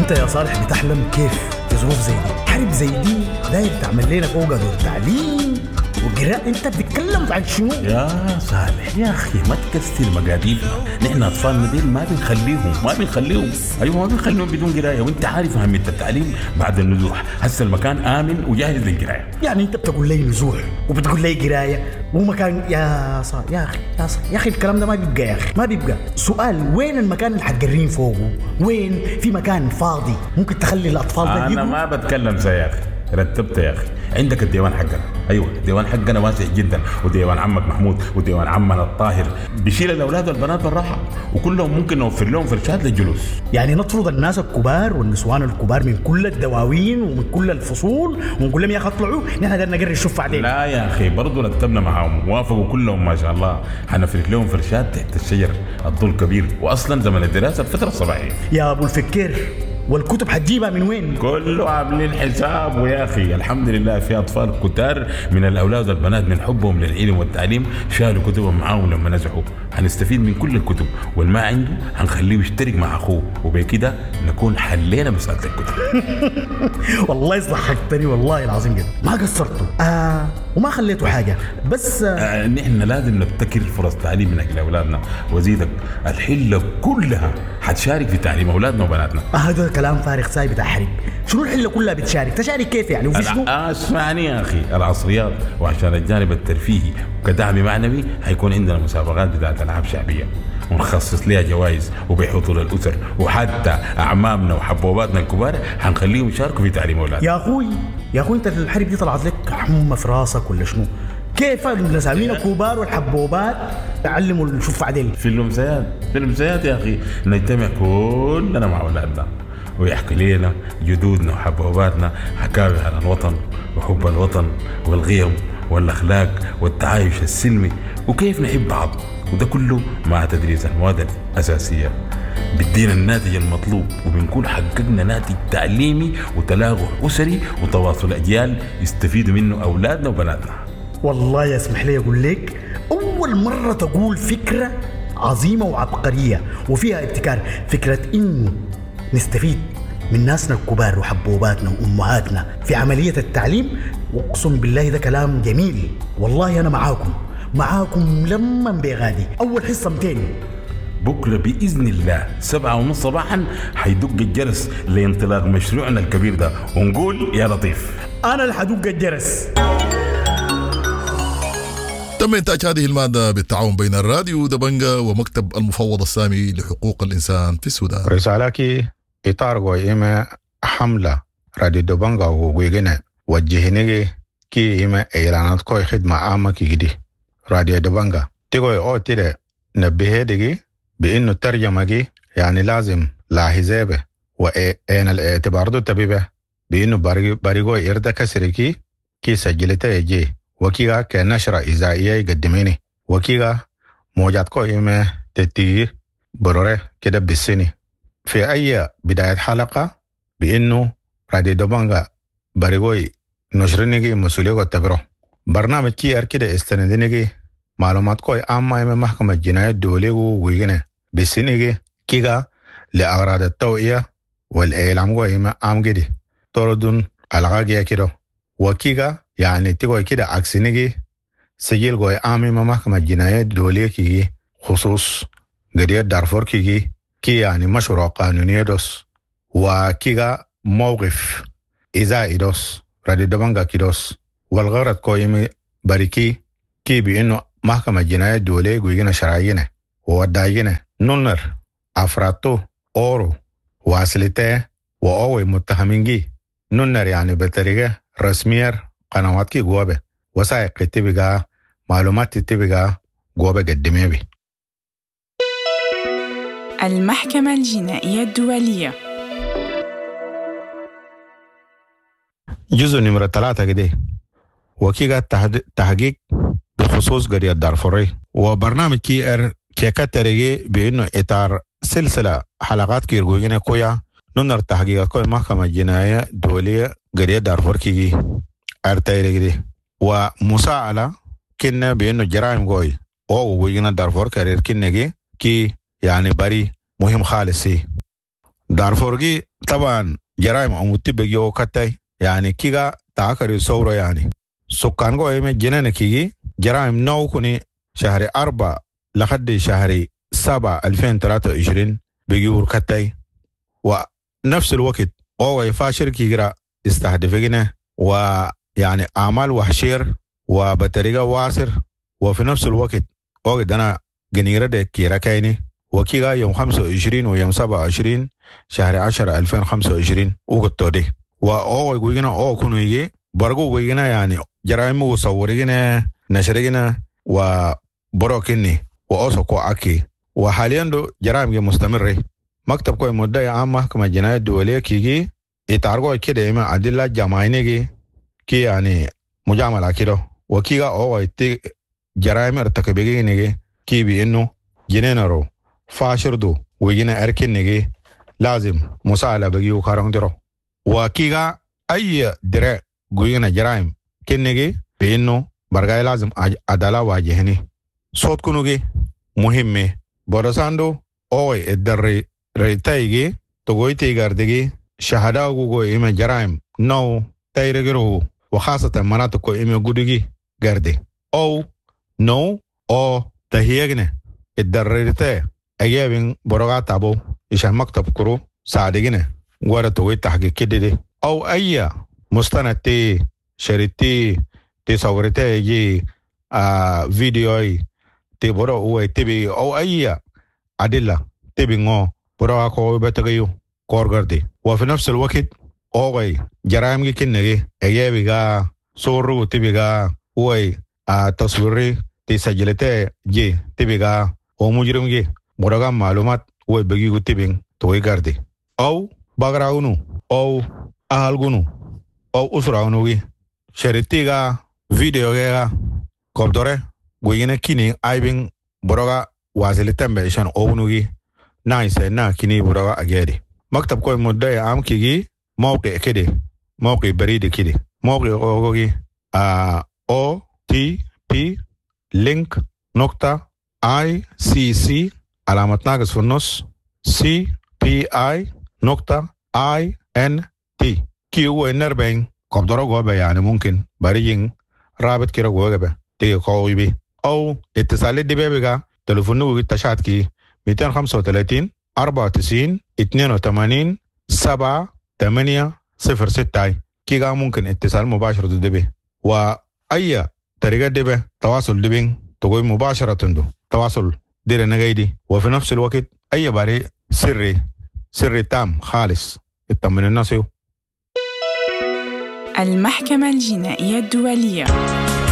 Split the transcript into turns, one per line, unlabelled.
انت يا صالح بتحلم كيف في ظروف زي دي؟ حرب زي دي داير تعمل لنا فوق دور تعليم وقراءة؟ انت بتتكلم عن شنو؟
يا صالح يا اخي ما تكسر مقاديفنا، نحن اطفالنا ديل ما بنخليهم، ما بنخليهم، ايوه ما بنخليهم بدون قرايه، وانت عارف اهمية التعليم بعد النزوح. هسه المكان امن وجاهز للقرايه.
يعني انت بتقول لي نزوح وبتقول لي قرايه ومكان؟ يا صالح يا اخي، يا صالح يا اخي الكلام ده ما بيبقى يا اخي، ما بيبقى. سؤال، وين المكان اللي حتقرين فوقه؟ وين في مكان فاضي ممكن تخلي الاطفال ده
انا
يقروا؟
ما بتكلم زي يا اخي، رتبت يا اخي. عندك الديوان حقنا، ايوه الديوان حقنا واسع جدا، وديوان عمك محمود وديوان عمنا الطاهر بيشيل الاولاد والبنات بالراحة، وكلهم ممكن نوفر لهم فرشات للجلوس.
يعني نطرد الناس الكبار والنسوان الكبار من كل الدواوين ومن كل الفصول ونقول لهم يا اخي اطلعوا، نحن قاعدين نقري الشفع بعدين؟
لا يا اخي، برضه رتبنا معاهم، وافقوا كلهم ما شاء الله. حنفرش لهم فرشات تحت الشجر، الظل كبير، واصلا زمن الدراسة الفترة الصباحية.
يا ابو الفكير، والكتب حتجيبها من وين؟
كله عاملين حساب ويا اخي الحمد لله في اطفال كتار من الاولاد والبنات من حبهم للعلم والتعليم شالوا كتبهم معاهم لما نزحوا. حنستفيد من كل الكتب، والما عنده حنخليه يشترك مع اخوه، وبكده نكون حلينا مسالة الكتب.
والله ضحكتني والله العظيم جدا، ما قصرتوا وما خليتوا حاجة بس
نحن لازم نبتكر فرص تعليم من اجل اولادنا، وزيدك الحلة كلها حتشارك في تعليم اولادنا وبناتنا.
هذا كلام فارغ ساي بتاع حرب. شنو الحلة كلها بتشارك؟ تشارك كيف يعني؟ وفي شنو؟
اسمعني يا اخي، العصريات وعشان الجانب الترفيهي وكدعم معنوي حيكون عندنا مسابقات بتاعت العاب شعبية ونخصص لها جوائز وبحضور الاسر، وحتى اعمامنا وحبوباتنا الكبار حنخليهم يشاركوا في تعليم اولادنا.
يا اخوي يا اخوي، انت الحرب دي طلعت لك حمى في راسك ولا شنو؟ كيف النساوين الكبار والحبوبات تعلموا الشفع ديل؟
في الامسيات، في الامسيات يا اخي نجتمع كلنا مع اولادنا ويحكي لنا جدودنا وحبوباتنا حكاوي عن الوطن وحب الوطن والقيم والاخلاق والتعايش السلمي وكيف نحب بعض، وده كله مع تدريس المواد الاساسية بيدينا الناتج المطلوب، وبنكون حققنا ناتج تعليمي وتلاقح اسري وتواصل اجيال يستفيدوا منه اولادنا وبناتنا.
والله يسمح لي اقول لك، اول مرة تقول فكرة عظيمة وعبقريه وفيها ابتكار، فكرة انه نستفيد من ناسنا الكبار وحبوباتنا وامهاتنا في عملية التعليم. واقسم بالله ده كلام جميل، والله انا معاكم، معاكم لما بغادي. اول حصة 200
بكرة بإذن الله 7:30 صباحا حيدق الجرس لانطلاق مشروعنا الكبير ده، ونقول يا لطيف.
أنا اللي حدق الجرس.
تم إنتاج هذه المادة بالتعاون بين الراديو دبنجا ومكتب المفوض السامي لحقوق الإنسان في السودان.
رسالة إطار إما حملة راديو دبنجا وغيغنا وجهنجي كي إما إعلانات كوي خدمة عامة كي دي راديو دبنجا تيغوي أو تيري نبهي دي بإنه الترجمة دي يعني لازم لاحظة وإن الاعتبار دو تبيبه بإنه بريغو إردا كسركي كي سجلته يجي وكيغا كنشرة إذاعية يقدميني وكيغا موجات كو إما تتير برورة كده بالسنة في أي بداية حلقة بإنه راديو دبنجا بريغوي نشرنيجي مسؤولية تبرو برنامج كي أر كده استندنيجي معلومات كوي عامة إما محكمة الجناية الدولية ويجنة بالسنيجي كيغا لأغراض التوعية والإعلام كوي إما عام كده طردون الغاقية كده وكيغا يعني تيغوي كده عكسنيجي سجل كوي عام إما محكمة الجناية الدولية كيجي خصوص قضية دارفور كيجي كي يعني مشروع قانوني دوس وكيغا موقف إذا دوس راديو دبنجا كيدوس والغرض كويمي بريكي كي بإنه محكمة جناية الدولية قوينا شرعينا ووداينا نونر أفراتو أورو واسلتة وأوي متهمين جي نونر يعني بطريقة رسمية قنوات كي جوابه وثائق تبقى معلومات تبقى جوابه قدمي بي.
المحكمة الجنائية الدولية
جزء نمرة 3 كده وكيغا تحقيق بخصوص قضية دارفوري وبرنامج كي ار كيكا تريجي بانه اطار سلسلة حلقات كيرغوينة كويا نونر تحقيق كوي محكمة جنائية دولية قضية دارفور كيجي ارتايري ومساءلة كنا بانه جرائم كوي او وينا دارفور كارير كنجي كي يعني بري مهم خالص دارفور كي طبعا جرائم أموتي بيجيو كتاي يعني كيغا تاكري صورة يعني سكان قو إيمي جنان كيجي جرائم نو كوني شهر 4 لحد شهر 7 2023 بيجيو كتاي. ونفس الوقت هو يفاشر كيغرا استهدفنا ويعني أعمال وحشير وبطريقة واسر. وفي نفس الوقت وقت أنا جنيرة ده كيرا كايني وكيغا يوم 25 ويوم 27 شهر 10 2025 وقت دي. وأو يقولنا أو كنوا يجي برجو يقولنا يعني جرائم وصورينا نشرينا وبروكني وأوسكو أكي. وحاليا دو جرائم مستمرة. مكتب كوي مدعي عام محكمة جناية الدولية كيجي يتعرقوا كده إما أدلة جماعية كي يعني مجاملة كده. وكيغا أو يتي جرائم ارتكبيني كي بإنه جنينرو فاشردو ويجينا أركنيجي لازم مساعدة بيجيو كارون درو. وكيغا أي درع جوينا جرائم كنيجي بإنه برجع لازم عدالة واجهني. صوت كنوجي مهمة برساندو أوي الدري ريتايجي تقوي تيجارديجي شهادة وجو إما جرائم نو تايرجرو وخاصة مناطق إما جودجي جاردي أو نو أو تهيجني الدريتة أجابين برغا تابو إيش مكتب كرو ساعدينه ورا توي تحقيق كده أو أي مستند تي شريتي تي صورتي يجي فيديو تي برا هو تبي أو أي أدلة تبي نو برا كوي بتغيو كورغردي. وفي نفس الوقت أوغي جرائم كنغي أجابي غا صورو تبي غا هو تصويري تي سجلته جي تبي غا أو مجرم جي برا معلومات هو بيجي تبين توي غاردي أو بغراونو أو أهلغونو أو أسراونو جي شريتي غا فيديو غا كوبدورة غوينة كيني أيبين برا وازلتن بيشان أونو نايس نا كيني برا أجيري. مكتب كوي مدعي عام كيجي موقع كده موقع بريد كده موقع أوغي O T P link نقطة I C C علامة ناقص في النص C P I نقطة I N T كي هو النربين قبضرو جوبا يعني ممكن بريجين رابط كده جوبا تيجي قوي بي أو اتصال دي بيبقى تليفونه تشات كي 235 94 82 7 8 0 6 كيغا ممكن اتصال مباشر دبي. وأي طريقة دبي تواصل دبين تقوي مباشرة دو تواصل دير نغيدي. وفي نفس الوقت أي باري سري سري تام خالص اطمن الناس.
المحكمة الجنائية الدولية.